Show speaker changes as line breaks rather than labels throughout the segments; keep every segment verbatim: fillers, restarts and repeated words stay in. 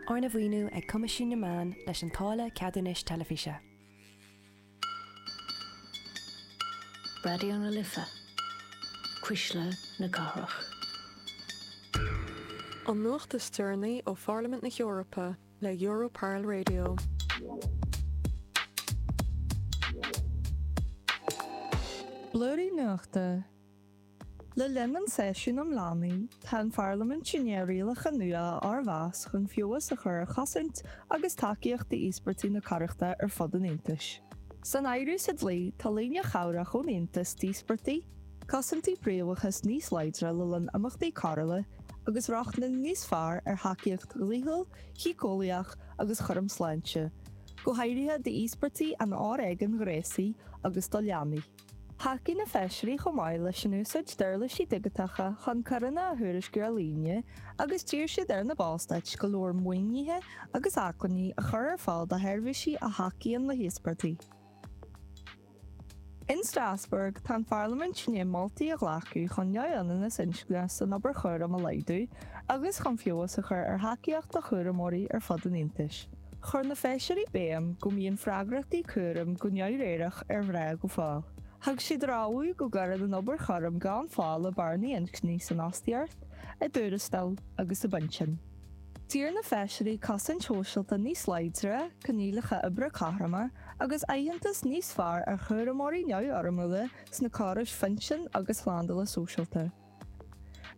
Arna mhaoiniú ag Coimisiún na Meán leis an táille ceadúnais teilifíse.
Raidió na Life, Cuisle na Cathrach.
An nuacht is deireanaí ó Pharlaimint na hEorpa le Europarl Radio.
Blúirí Nuachta Le linn an tseisiúin um leanaí, tá an Pharlaimint i ndiaidh rialacha nua a fhormheas chun feabhas a chur ar chosaint agus tacaíocht d'íospartaigh na coireachta ar fud an Aontais. San áireamh sa dlí tá líne chabhrach ón Aontas d'íospartaigh, cosaintí príobháideachais níos láidre le linn imeachtaí coiriúla agus rochtain níos fearr ar thacaíocht dhlíthiúil, shíceolaíoch agus chúram sláinte, go háirithe d'íospartaigh an fhoréigin ghnéasaigh agus do leanaí. Thacaigh na feisirí chomh maith leis an úsáid d'uirlisí digiteacha chun coireanna a thuairisciú ar líne agus d'iarr siad ar na Ballstáit go leor maoinithe agus acmhainní a chur ar fáil do sheirbhísí a thacaíonn le híospartaigh. In Strasbourg, tá an Pharlaimint i ndiaidh moltaí a ghlacadh chun neamhionannas inscne san obair chúraim a laghdú agus chun feabhas a chur ar thacaíocht do chúramóirí ar fud an Aontais. Chuir na feisirí béim go mbíonn freagrachtaí cúraim go neamhréireach ar mhná go fóill. Thug siad rabhadh go gcuireann an obair chúraim gan phá le bearnaí inscne san fhostaíocht, i dtuarastail agus i bpinsin. D'iarr na feisirí cosaint shóisialta níos láidre, coinníollacha oibre cothroma agus aitheantas níos fearr ar chúramóirí neamhfhoirmiúla sna córais phinsin agus shlándála sóisialta.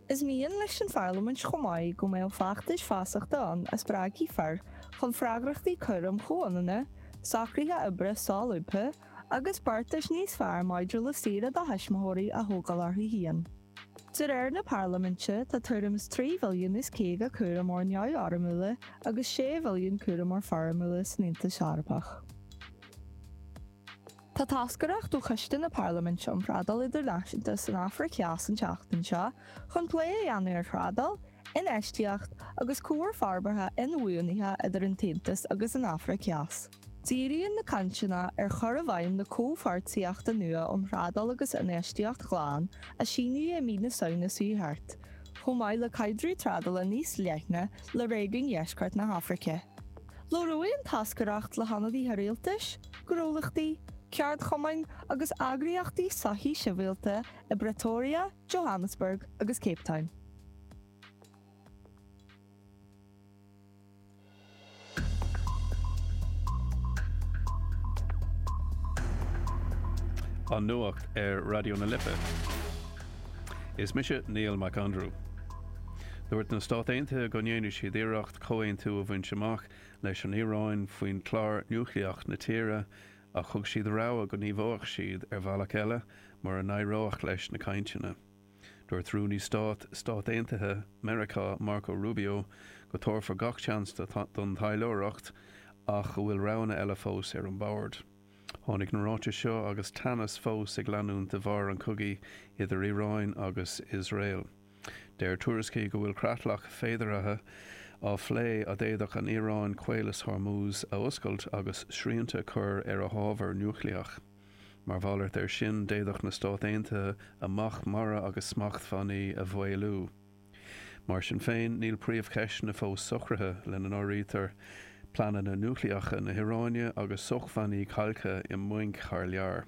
Is mian leis an Pharlaimint chomh maith go mbeadh feachtais feasachta ann a spreagfaidh fir chun freagrachtaí cúraim chomhionanna, socruithe oibre solúbtha agus beartais níos fearr maidir le saoire do thuismitheoirí a thógáil orthu féin. De réir na Parlaiminte, tá tuairim is trí mhilliún is caoga cúramóir neamhfhoirmiúla agus sé mhilliún cúramóir foirmiúla san Aontas Eorpach. Tá toscaireacht ó Choiste na Parlaiminte um Thrádáil Idirnáisiúnta san Afraic Theas an tseachtain seo chun plé a dhéanamh ar thrádáil, infheistíocht agus comhar forbartha inbhuanaithe idir an tAontas agus an Afraic Theas. Díríonn na cainteanna ar chur i bhfeidhm na Comhpháirtíochta nua um Thrádáil agus Infheistíocht Ghlan a síníodh i mí na Samhna seo thart, chomh maith le caidreamh trádála níos leithne le réigiún Dheisceart na hAfraice. Labhróidh an toscaireacht le hionadaithe rialtais, gnólachtaí, ceardchumainn agus eagraíochtaí sochaí sibhialta i bPretoria, Johannesburg agus Cape Town.
An Nuacht ar Raidió na Life. Is mise Niall Mac Aindriú. Dúirt na Stáit Aontaithe go ndéanfaidh siad iarracht comhaontú a bhaint amach leis an Iaráin faoin chlár núicléach na tíre ach thug siad rabhadh go ngníomhódh siad ar bhealach eile mura n-éireodh leis na cainteanna. Dúirt Rúnaí Stáit Stát Aontaithe Meiriceá Marco Rubio go dtabharfar gach seans don taidhleoireacht ach go bhfuil roghanna eile fós ar an mbord. Tháinig na ráitis seo agus teannas fós ag leanúint de bharr an chogaidh idir Iaráin agus Iosrael. Deir tuairiscí go bhfuil creatlach féideartha á phlé a d'fhéadfadh an Iaráin Caolas Hormuz a oscailt agus srianta a chur ar a hábhar núicléach. Mar mhalairt air sin, d'fhéadfadh na Stáit Aontaithe a mbac mara agus smachtbhannaí a mhaolú. Mar sin féin, níl príomhcheisteanna fós socraithe, lena n-áirítear pleananna núicléacha na hIaráine agus sócmhainní calctha i mbainc thar lear.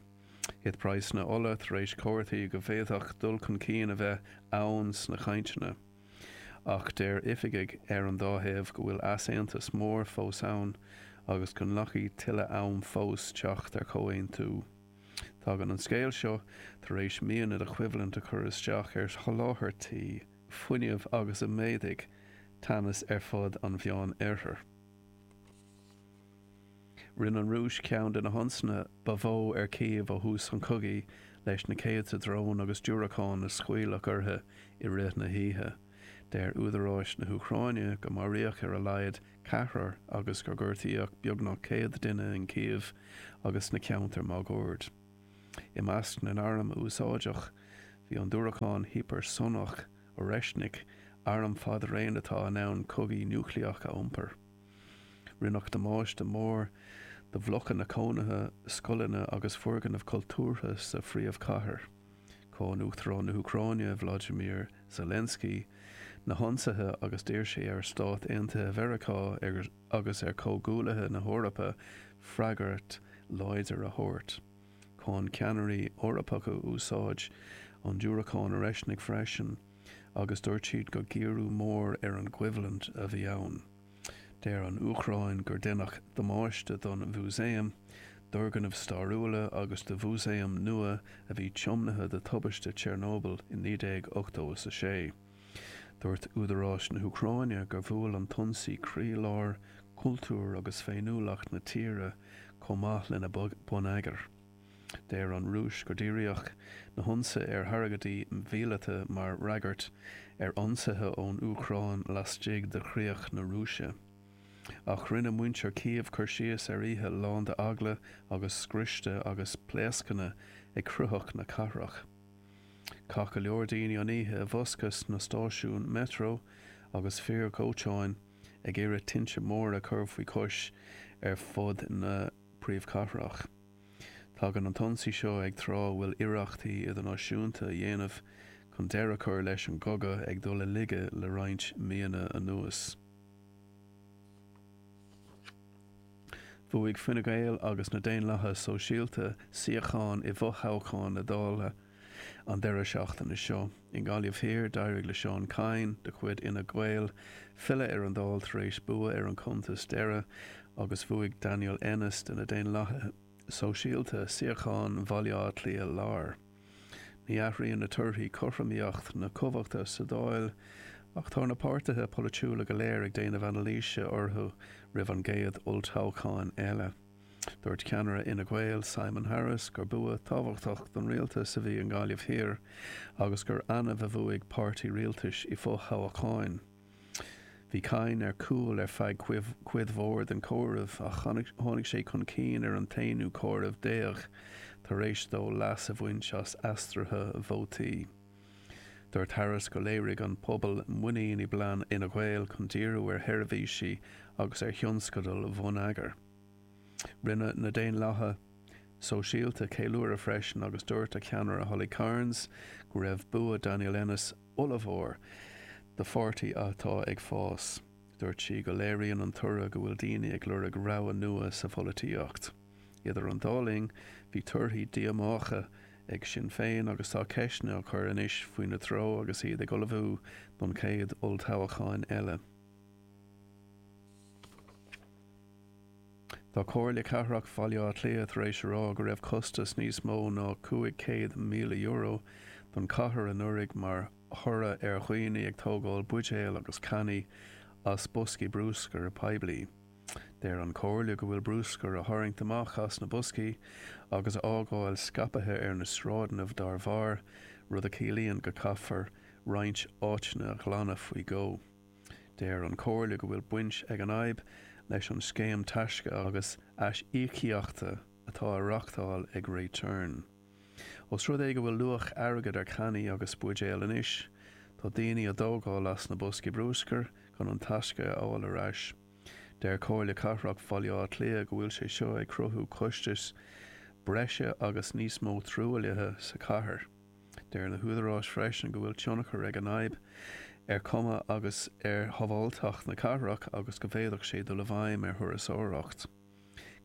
Thit praghsanna ola tar éis comharthaí go bhféadfadh dul chun cinn a bheith ann sna cainteanna. Ach deir oifigigh ar an dá thaobh go bhfuil easaontas mór fós ann agus go nglacfaidh tuilleadh am fós teacht ar chomhaontú. Tagann an scéal seo tar éis míonna de choimhlint a chur isteach ar sholáthairtí fuinnimh agus a mhéadaigh teannas ar fud an Mheánoirthir. Rinne an Rúis ceann de na hionsaithe ba mhó ar Cív ó thús an chogaidh leis na céadta drón agus diúracán a scaoileadh uirthi i rith na hoíche. Deir údaráis na hÚcráine go maraíodh ar a laghad ceathrar agus gur gortaíodh beagnach céad duine in Cív agus sna ceantair máguaird. I measc na n-arm a úsáideadh bhí an diúracán hipearsonach Oreshnik, arm fadraoin atá in ann cogaí núicléach a iompar. Rinneadh damáiste mór do bhlocanna cónaithe, scoileanna agus foirgnimh chultúrtha sa phríomhchathair. Cháin Uachtarán na hÚcráine Vladimir Zelensky na hionsaithe agus d'iarr sé ar Stáit Aontaithe Mheiriceá agus ar chomhghuaillithe na hEorpa freagairt láidir a thabhairt. Cháin ceannairí Eorpacha úsáid an diúracáin Oreshnik freisin agus dúirt siad gur géarú mór ar an gcoimhlint a bhí ann. Deir an Úcráin gur deineadh damáiste don mhúsaem, d'fhoirgnimh stairiúla agus do mhúsaem nua a bhí tiomnaithe do tubaiste Chernobyl in naoi déag ochtó is a sé. Dúirt údaráis na hÚcráine gur bhuail an t-ionsaí croílár cultúr agus féiniúlacht na tíre chomh maith lena bonneagar. Deir an Rúis gur díríodh na hionsaithe ar thargaidí míleata mar fhreagairt ar ionsaithe ón Úcráin laistigh de chríoch na Rúise. Ach rinne muintir Cív cur síos ar oíche lán d'eagla agus scriosta agus pléascanna ag croitheadh na cathrach. Chaith go leor daoine an oíche i bhfoscadh sna stáisiúin metro agus fir dhóiteáin ag iarraidh tinte móra a chur faoi chois ar fud na príomhchathrach. Tagann an t-ionsaí seo ag tráth a bhfuil iarrachtaí idirnáisiúnta a dhéanamh chun deireadh a chur leis an gcogadh ag dul i laige le roinnt míonna anuas. Bhuaigh Fine Gael agus na Daonlathaithe Sóisialta suíocháin i bhfothoghcháin na Dála an deireadh seachtaine seo. I nGaillimh Thiar, d'éirigh le Seán Kyne de chuid Fhine Gael filleadh ar an Dáil tar éis bua ar an chuntas deiridh agus bhuaigh Daniel Ennis de na Daonlathaithe Sóisialta suíochán Bhaile Átha Cliath Láir. Ní athraíonn na torthaí cothromaíocht na cumhachta sa Dáil ach tá na páirtithe polaitiúla go léir ag déanamh anailíse orthu roimh an gcéad olltoghchán eile. Dúirt ceannaire Fhine Gael, Simon Harris, gur bua tábhachtach don rialtas a bhí i nGaillimh Thiar agus gur annamh a bhuaigh páirtí rialtais i bhfothoghcháin. Bhí Kyne ar cúl ar feadh cuid mhór den chomhaireamh ach tháinig sé chun cinn ar an t-aonú comhaireamh déag tar éis dó leas a bhaint as aistrithe vótaí. Dúirt Harris go léirigh an pobal muinín i bplean Fhine Gael chun díriú ar sheirbhísí agus ar thionscadail bhonneagair. Rinne na Daonlathaithe Sóisialta ceiliúradh freisin agus dúirt a ceannaire Holly Cairns go raibh bua Daniel Ennis ollmhór do pháirtí atá ag fás. Dúirt sí go léiríonn an toradh go bhfuil daoine ag lorg rogha nua sa pholaitíocht. Idir an dá linn, bhí torthaí díomácha ag Sinn Féin agus tá ceisteanna á cur anois faoina treo agus iad ag ullmhú don chéad olltoghchán eile. Tá Comhairle Cathrach Bhaile Átha Cliath tar éis a rá go raibh costas níos mó ná cúig chéad míle euro don chathair anuraidh mar thoradh ar dhaoine ag tógáil buidéal agus cannaí as boscaí bruscair poiblí. Deir an Chomhairle go bhfuil bruscar á tharraingt amach as na boscaí agus a fhágáil scaipthe ar na sráideanna dá bharr, rud a chiallaíonn go caithfear roinnt áiteanna a ghlanadh faoi dhó. Deir an Chomhairle go bhfuil baint ag an fhadhb leis an scéim taisce agus aisíocaíochta atá á reáchtáil ag Return. Ós rud é go bhfuil luach airgid ar channaí agus buidéal anois, tá daoine á dtógáil as na boscaí bruscair chun an taisce a fháil ar ais. Deir Comhairle Cathrach Bhaile Átha Cliath go bhfuil sé seo ag cruthú costais breise agus níos mó truaillithe sa chathair. Deir na húdaráis freisin go bhfuil tionchar ag an fhadhb ar chuma agus ar shábháilteacht na cathrach agus go bhféadfadh sé dul i bhfeidhm ar thurasóireacht.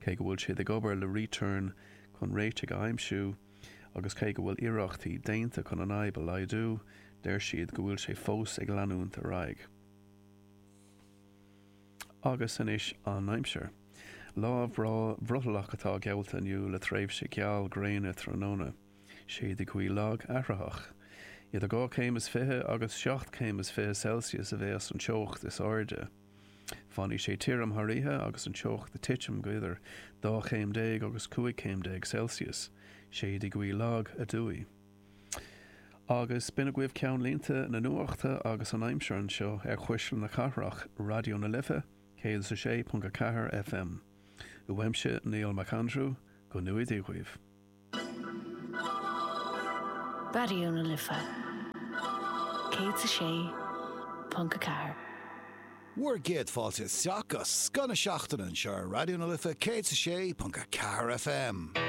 Cé go bhfuil siad ag obair le Return chun réitigh a aimsiú agus cé go bhfuil iarrachtaí déanta chun an fhadhb a laghdú, deir siad go bhfuil sé fós ag leanúint ar aghaidh. Agus anois an aimsir. Lá bhreá bhrothallach atá geallta inniu le tréimhse geal gréine tráthnóna. Séidfidh gaoth lag athraitheach. Idir dhá chéim is fiche agus seacht céim is fiche Celsius a bheas an teocht is airde. Fanfaidh sé tirim thar oíche agus an teocht ag titim go idir dhá chéim déag agus cúig chéim déag Celsius. Séidfidh gaoth lag aduaidh. Agus b'in agaibh ceannlínte na nuachta agus an aimsir anseo ar Chuisle na Cathrach, Raidió na Life, céad is a sé ponc a ceathair FM. Uaimse Niall Mac Aindriú, go ngnóthaí Dia dhaoibh.
Raidió na Life, céad is a sé ponc a ceathair.
Bhur gcéad fáilte isteach go scoth na seachtaine anseo ar Raidió na Life céad is a sé ponc a ceathair FM.